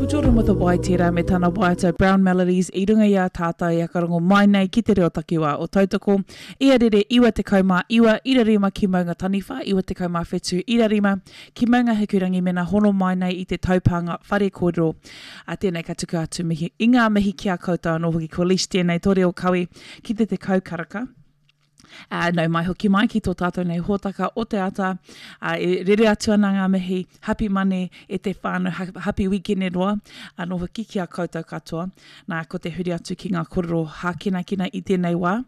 Ko Jordan with a Y tērā me tana waiata Brown Melodies i runga i a tātou e whakarongo mai nei ki te reo takiwā o Tautoko i a rere 99 ira rima ki Maunga Taniwha, 97 ira rima ki Maunga Hikurangi mena hono mai nei i te taupānga whare kōrero. A tēnei ka tuku atu mihi i ngā mihi ki a koutou anō hoki ko Leash tēnei tō reo kawe ki te 10 karaka. Ā, nau mai hoki mai ki tō tātou nei hōtaka o te ata. Ā, e rere atu ana ngā mihi, happy Mane e te whānau, happy weekend roa anō hoki ki a koutou katoa. Nā, ko te huri atu ki ngā kōrero hākinakina i tēnei wā.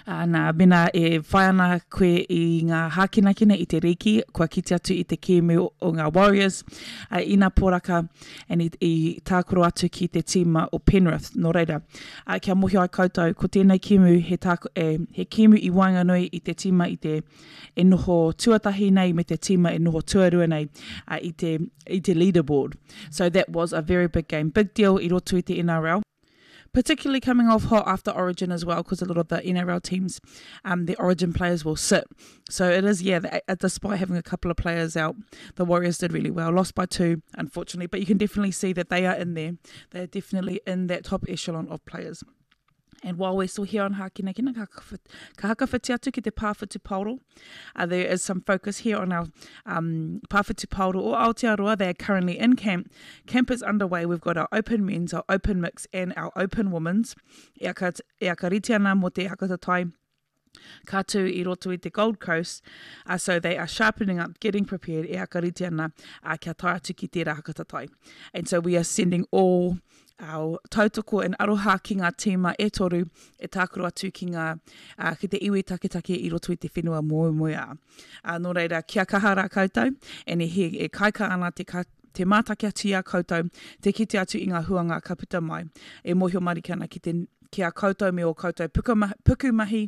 Ā, nā, mēnā e whai ana koe i ngā hākinakina i te rīki, kua kite atu i te kēmu o ngā Warriors, ā, ina poraka, and i, i tākaro atu ki te tīma o Penrith. Nō reira, ā, kia mōhio ai koutou, ko tēnei kēmu he, tāko, e, he kēmu i waenganui i te tīma i te e noho tuatahi nei me te tīma e noho tuarua nei ā, i te, i te leaderboard. So that was a very big game. Big deal i roto i te NRL. Particularly coming off hot after Origin as well, because a lot of the NRL teams, um, the Origin players will sit. So it is, yeah, the, uh, despite having a couple of players out, the Warriors did really well. Lost by two, unfortunately, but you can definitely see that they are in there. They are definitely in that top echelon of players. And while we're still here on Hākinakina, ka, ka hakawhiti atu ki te pāwhitu paoro. Uh, there is some focus here on our um, pāwhitu paoro o Aotearoa. They are currently in camp. Camp is underway. We've got our open men's, our open mix, and our open women's. E aka, e aka ana mō te hakatatai ka tū i roto i te Gold Coast, uh, so they are sharpening up, getting prepared, e akarite ana uh, kia tae atu ki tērā hakatatai. And so we are sending all our tautoko and aroha ki ngā tīma e toru e tākaro atu ki ngā, uh, ki te iwi taketake i roto i te whenua moemoeā. Uh, nō reira, kia kaha rā koutou, and e, he, e kaika ana te, ka, te mātaki atu i a koutou, te kite atu i ngā huanga ka puta mai. E mōhio marika ana ki, te, ki a koutou me ō koutou puka, puku mahi,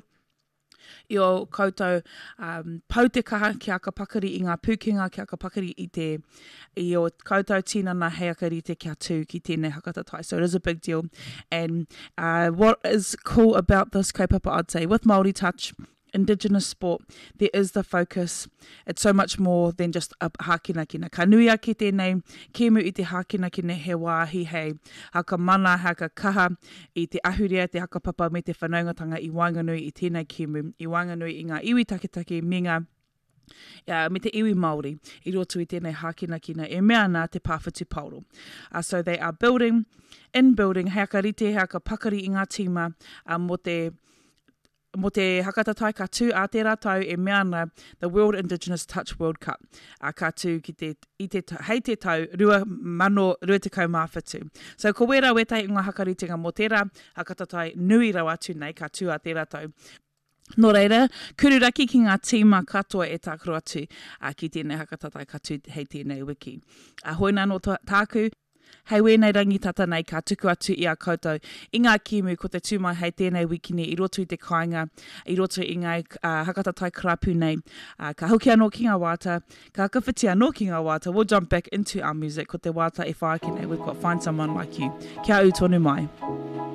i ō koutou um, pau te kaha kia aka pakari i ngā pūkenga, kia aka pakari i te i ō koutou tinana hei aka rite kia tū ki tēnei hakatatai. So it is a big deal. And uh, what is cool about this kaupapa, I'd say, with Māori Touch, indigenous sport, there is the focus. It's so much more than just a hākinakina. Ka nui ake tēnei kēmu i te hākinakina he wāhi hei haka mana, haka kaha i te ahurea, te hakapapa me te whanaungatanga i waenganui i tēnei kēmu, i waenganui i ngā iwi taketake me ngā uh, me te iwi Māori i roto i tēnei hākinakina e mea ana te pāwhitu paoro. Uh, so they are building, in building, hei aka rite, hei aka pakari i ngā tīma uh, mō te Mō te hakatatai ka tū ā tērā tau e mea ana The World Indigenous Touch World Cup, ā, ka tū ki te, i te, hei te tau 2027. So ko wērā wētahi o ngā hakaritenga mō tērā hakatatai nui rawa atu nei ka tū ā tērā tau. Nō reira, kururaki ki ngā tīma katoa e tākaro atu ā, ki tēnei hakatatai ka tū hei tēnei wiki. Ā, hoina anō tāku. Hei wēnei rangi tata nei ka tuku atu i a koutou i ngā kēmu ko te tū mai hei tēnei wikini i roto i te kāinga, i roto i ngā hakatatai karapu nei. Ka hoki anō ki ngā wāta, ka whakawhiti anō ki ngā wāta, we'll jump back into our music, ko te wāta e whai ake nei, we've got Find Someone Like You. Kia ū tonu mai.